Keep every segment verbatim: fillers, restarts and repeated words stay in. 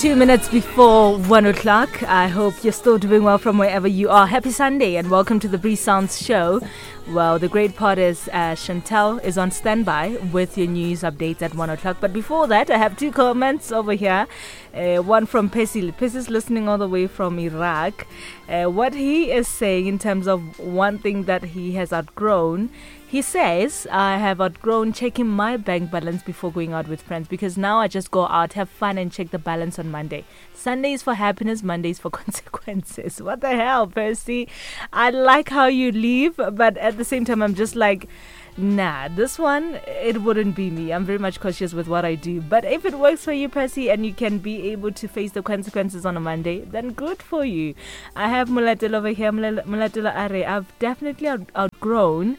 Two minutes before one o'clock. I hope you're still doing well from wherever you are. Happy Sunday and welcome to the Bree Sounds Show. Well, the great part is uh, Chantel is on standby with your news updates at one o'clock. But before that, I have two comments over here. Uh, one from Percy. Percy's listening all the way from Iraq. Uh, what he is saying in terms of one thing that he has outgrown, he says, I have outgrown checking my bank balance before going out with friends because now I just go out, have fun, and check the balance on Monday. Sunday is for happiness, Monday is for consequences. What the hell, Percy? I like how you leave, but at the same time, I'm just like, nah, this one, it wouldn't be me. I'm very much cautious with what I do. But if it works for you, Percy, and you can be able to face the consequences on a Monday, then good for you. I have Mulatelo over here. Mulatelo Are. I've definitely out- outgrown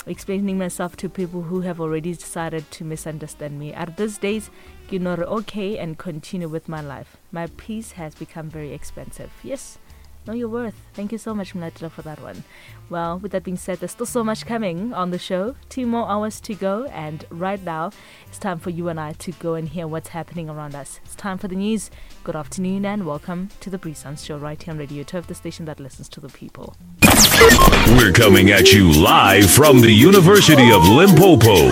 explaining myself to people who have already decided to misunderstand me. At these days, you know, okay, and continue with my life. My peace has become very expensive. Yes, know your worth. Thank you so much, Mlatela, for that one. Well, with that being said, there's still so much coming on the show. Two more hours to go, and right now, it's time for you and I to go and hear what's happening around us. It's time for the news. Good afternoon, and welcome to the Bree Sounds Show right here on Radio Turf, the station that listens to the people. We're coming at you live from the University of Limpopo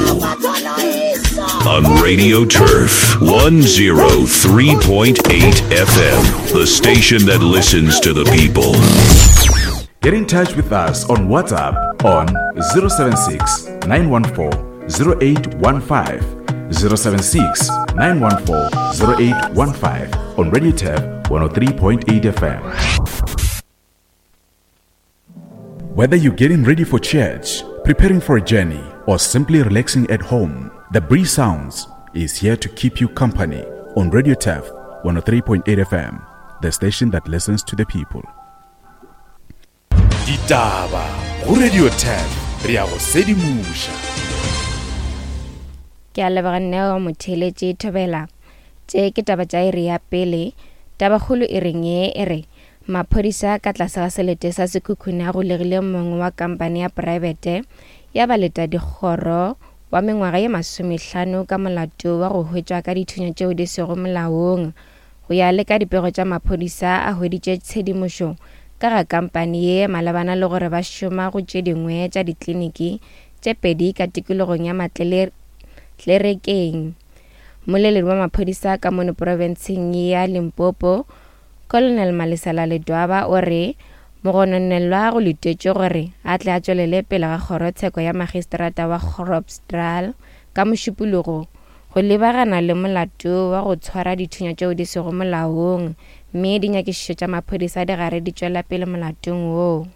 on Radio Turf one oh three point eight F M, the station that listens to the people. Get in touch with us on WhatsApp on zero seven six, nine one four, zero eight one five, zero seven six, nine one four, zero eight one five on Radio Turf one oh three point eight F M. Whether you're getting ready for church, preparing for a journey, or simply relaxing at home, the Bree Sounds is here to keep you company on Radio Turf one oh three point eight F M, the station that listens to the people. Ditaba go Radio Turf, re a go sedimoša. Ke a leboga Neo Motheletše Thobela. Tše ke taba tša iri ya pele. Tabakgolo e reng ye e re maphodisa ka tlase ga selete sa Sekhukhune a golegile mongwe wa kampane ya private ya baleta dikgoro wa mengwaga ye masomehlano ka molato wa go hwetšwa ka dithunya tšeo di sego molaong. Go ya le ka dipego tša maphodisa a hweditše tshedimošo ka ga kampane ye malebana le gore ba šoma go tše dingwe tša dikliniki tše pedi ka tikologong ya Matlerekeng. Mmoleledi wa maphodisa ka mono profenseng ya Limpopo, Colonel Malesela Ledwaba, o re mogononelwa go letetšwe gore a tle a tšwelele pele ga kgorotsheko ya magistrata wa Groblersdal ka Mošupologo go lebagana le molato wa go tshwara dithunya tšeo di sego molaong, mme dinyakišišo tša maphodisa di gare di tšwela pele molatong woo.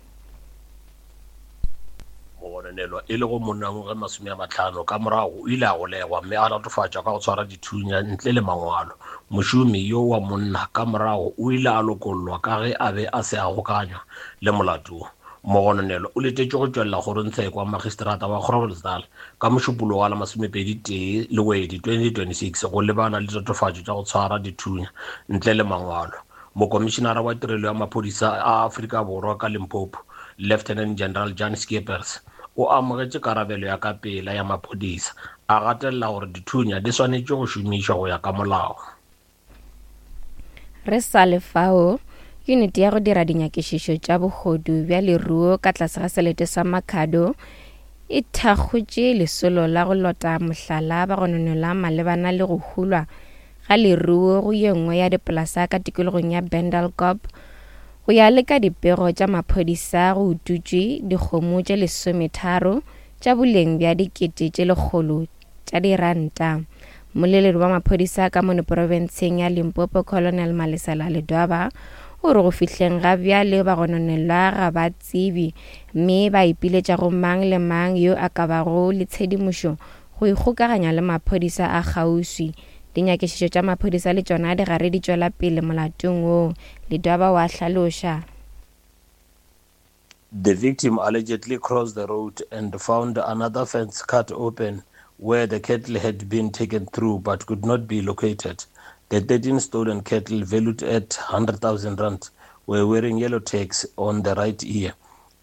Mogononelwa e lego monna wa ngwaga masome a mahlano ka morago o ile a golegwa mme a latofatšwa ka go tshwara dithunya ntle le mangwalo. Mošomi yo wa monna ka morago o ile a lokollwa ka ge a be a se a gokanywa le molato wo. Mogononelwa o letetšwe go tšwelela kgorongtsheko wa magistrata wa Groblersdal ka Mošupologo wa la masomepedi tee Lewedi twenty twenty-six go lebana le tatofatšo tša go tshwara dithunya ntle le mangwalo. Mokomišenara wa tirelo ya maphodisa a Afrika Borwa ka Limpopo, Lieutenant General Jan Skeepers, o amogetše karabelo ya ka pela ya maphodisa, a gatelela gore dithunya di swanetše go šomišwa go ya ka molao. Re sa le fao, yuniti ya go dira dinyakišišo tša bohodu bja leruo ka tlase ga selete sa Makhado e thakgotše lesolo la go lota mohlala ba gononelwa malebana le go hulwa ga leruo go ye nngwe ya dipolasa ka tikologong ya Bendelkop. Go ya le ka dipego tša maphodisa go ututšwe dikgomo tše lesometharo tša boleng bja dikete tše lekgolo tša diranta. Mmoleledi wa maphodisa ka mono profenseng ya Limpopo, Colonel Malesela Ledwaba, o re go fihleng ga bjale bagononelwa ga ba tsebe mme ba ipiletša go mang le mang yo a ka bago le tshedimošo go ikgokaganya le maphodisa a kgauswi. Dinyakišišo tša maphodisa le tšona di gare di tšwela pele molatong woo, Ledwaba wa hlaloša. The victim allegedly crossed the road and found another fence cut open where the cattle had been taken through but could not be located. The thirteen stolen cattle, valued at one hundred thousand rand, were wearing yellow tags on the right ear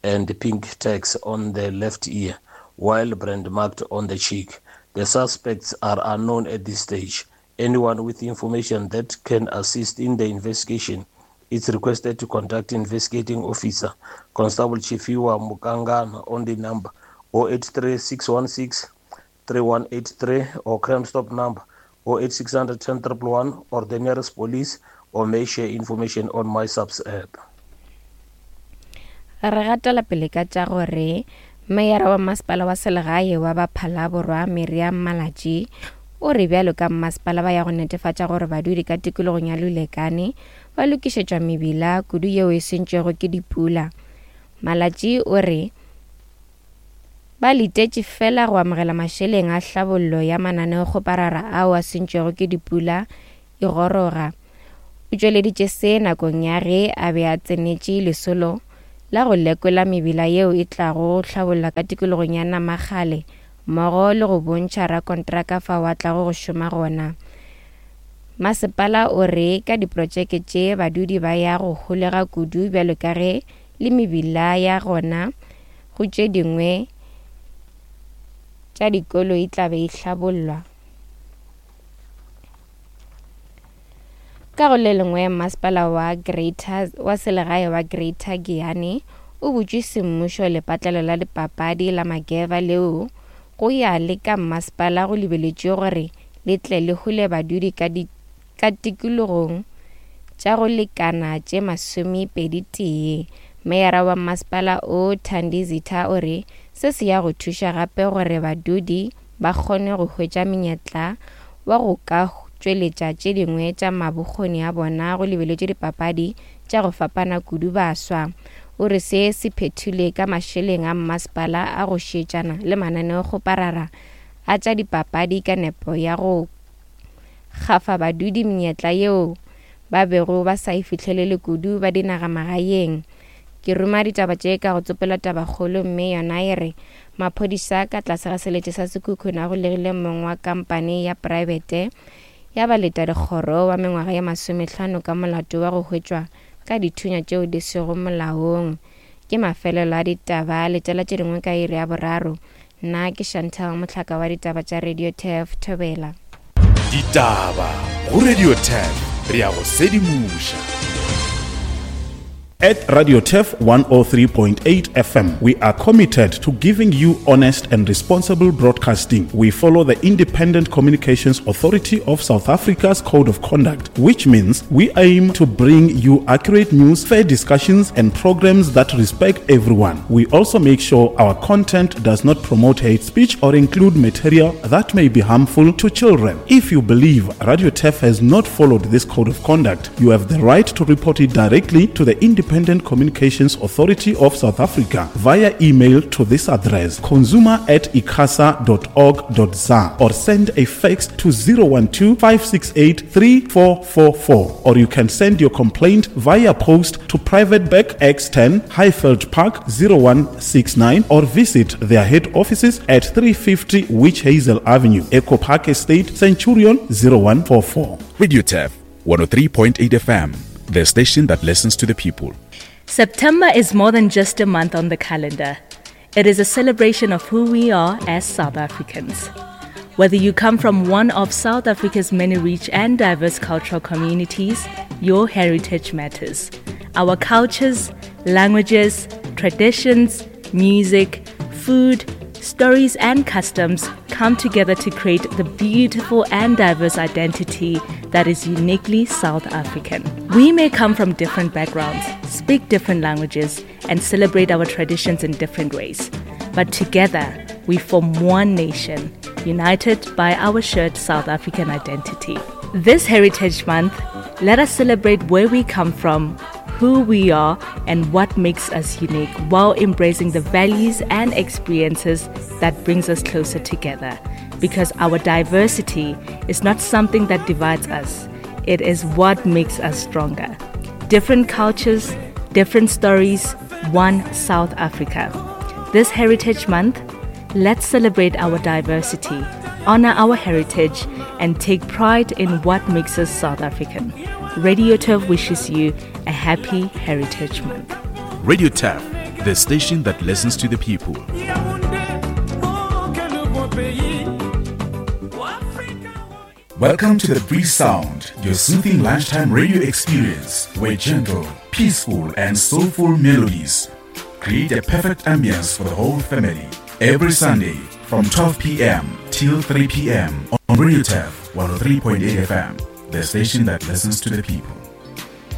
and pink tags on the left ear, while brand marked on the cheek. The suspects are unknown at this stage. Anyone with information that can assist in the investigation is requested to contact investigating officer Constable Chifiwa Mukangana on the number oh eight three, six one six, three one eight three or Crime Stop number oh eight six hundred ten triple one or the nearest police, or may share information on my SAPS app. Re gatela pele ka tša gore meyara wa masepala wa selegae wa Baphala-Borwa Miriam Malatji o re bjalo ka mmasepala ba ya go netefatša gore badudi ka tikologong ya Lulekane ba lokišetšwa mebila kudu yeo e sentšwego ke dipula. Malatji o re ba letetše fela go amogela mašeleng a hlabollo ya mananeokgoparara ao a sentšwego ke dipula e goroga. O tšweleditše se nakong ya ge a be a tsenetše lesolo la go lekola mebila yeo e tlago go hlabolla ka tikologong ya Namagale mmogo le go bontšha rakontraka fao a tlago go šoma gona. Masepala o re ka diprotšeke tše badudi ba ya go holega kudu bjalo ka ge le mebila ya gona go tše dingwe tša dikolo e tla be e hlabollwa. Ka go le lengwe, masepala wa Greater wa selegae wa Greater Giyani o butše semmušo lepatlelo la dipapadi la Mageva leo go ya le ka mmasepala go lebeletšwe gore le tle le hole badudi ka di ka tikologong tša go lekana tše masomepedi tee. Meyara wa mmasepala o Thandi Zitha o re se se ya go thuša gape gore badudi ba kgone go hwetša menyetla wa go ka tšweletša tše dingwe tša mabokgoni a bona go lebeletšwe dipapadi tša go fapana kudu baswa. O re se se phethilwe ka mašeleng a mmasepala a go šetšana le mananeokgoparara a tša dipapadi ka nepo ya go gafa badudi menyetla yeo ba bego ba sa e fihlelele kudu ba dinagamagaeng. Ke ruma ditaba tše ka go tsopela tabakgolo mme yona e re maphodisa ka tlase ga selete sa Sekhukhune a golegile mong wa kampane ya praebete ya baleta dikgoro wa mengwaga ya masomehlano ka molato wa go hwetšwa ka dithunya tšeo di sego molaong. Ke mafelelo a ditaba, letela tše dingwe ka iri ya boraro. Nna ke Chantal Mohlaka wa ditaba tša Radio Turf Thobela. Ditaba go Radio Turf, re ya go sedimoša. At Radio Turf one oh three point eight F M, we are committed to giving you honest and responsible broadcasting. We follow the Independent Communications Authority of South Africa's Code of Conduct, which means we aim to bring you accurate news, fair discussions, and programs that respect everyone. We also make sure our content does not promote hate speech or include material that may be harmful to children. If you believe Radio Turf has not followed this Code of Conduct, you have the right to report it directly to the Independent Communications Authority of South Africa via email to this address, consumer at icasa dot org dot za, or send a fax to zero one two, five six eight, three four four four, or you can send your complaint via post to Private Bag X ten, Highveld Park zero one six nine, or visit their head offices at three fifty Witch Hazel Avenue, Echo Park Estate, Centurion zero one four four. Radio Turf one oh three point eight F M, the station that listens to the people. September is more than just a month on the calendar. It is a celebration of who we are as South Africans. Whether you come from one of South Africa's many rich and diverse cultural communities, your heritage matters. Our cultures, languages, traditions, music, food, stories and customs come together to create the beautiful and diverse identity that is uniquely South African. We may come from different backgrounds, speak different languages, and celebrate our traditions in different ways. But together, we form one nation, united by our shared South African identity. This Heritage Month, let us celebrate where we come from, who we are, and what makes us unique, while embracing the values and experiences that brings us closer together. Because our diversity is not something that divides us, it is what makes us stronger. Different cultures, different stories, one South Africa. This Heritage Month, let's celebrate our diversity, honor our heritage, and take pride in what makes us South African. Radio Turf wishes you a happy Heritage Month. Radio Turf, the station that listens to the people. Welcome to the Breeze Sound, your soothing lunchtime radio experience where gentle, peaceful, and soulful melodies create a perfect ambience for the whole family. Every Sunday from twelve p m till three p m on Radio Turf one oh three point eight F M, the station that listens to the people.